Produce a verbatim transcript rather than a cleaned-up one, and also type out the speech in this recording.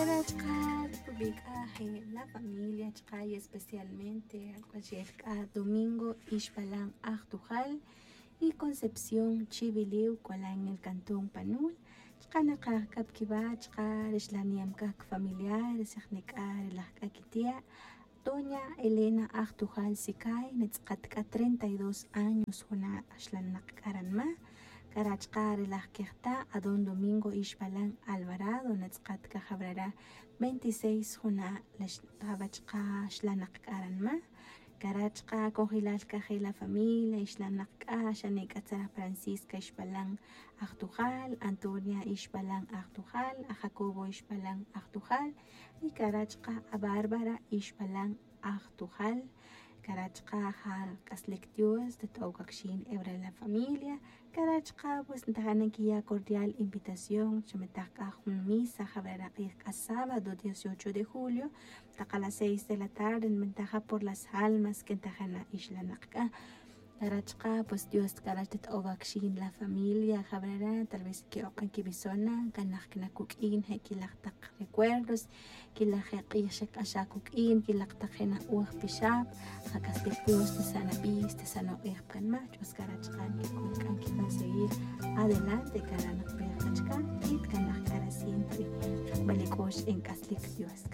Rachqa' rubic'a' je' la familia chqa' y especialmente ak'uaxel c'a domingo ixpalan ajtujal y concepción chiviliw c'olan el cantón panul. Chqa' nakaj c'a pa quiwa' chqa' rixlan niyam c'a cafamiliares ajnic'a rilaj c'a quitia'. Doña elena ajtujal sicay natz'akat c'a treinta y dos años juna' xlanak c'a ranma. C'a rachqa' rilaj quejta' adón domingo ixpalan alvarado natz'akat c'a jabrara veintiséis juna' la xtaba chqa' xlanak c'a ranma. C'a rachqa' cojilal c'a je' la familia ixlanak c'a xanic'a tzara francisca ixpalan ajtujal antonia ixpalan ajtujal ajacobo ixpalan ajtujal. Y c'a rachqa' abárbara ixpalan ajtujal. C'a rachqa' ja c'aslic dios tat'ow c'a quixin ebra la familia. C'a rachqa' pues ntajana quiya' cordial invitación chametaj c'a jun misa jabra rak'ij c'a sábado dieciocho de julio. Taka las seis de la tarde nbentaja por las almas que ntajana ixlanak c'a. C'a rachqa' pues dios c'a rach tat'ow c'a quixin la familia jabrara tal vez que'ok'an quibisona c'a nak cna cuq'uin je' quilaj tak recuerdos. Quilaj je' k'ij xek'axaj cuq'uin quilaj tak je' na'oj pixab. Ja c'aslic dios tasan abij tasan ok'ej pa canma ch'us c'a rachqa' nquic'un c'a nquic'un seguir adelante c'a ra' nakpej c'a chca. Y tcanaj c'a ra' siempre jakbal ic'ox en c'aslic dios.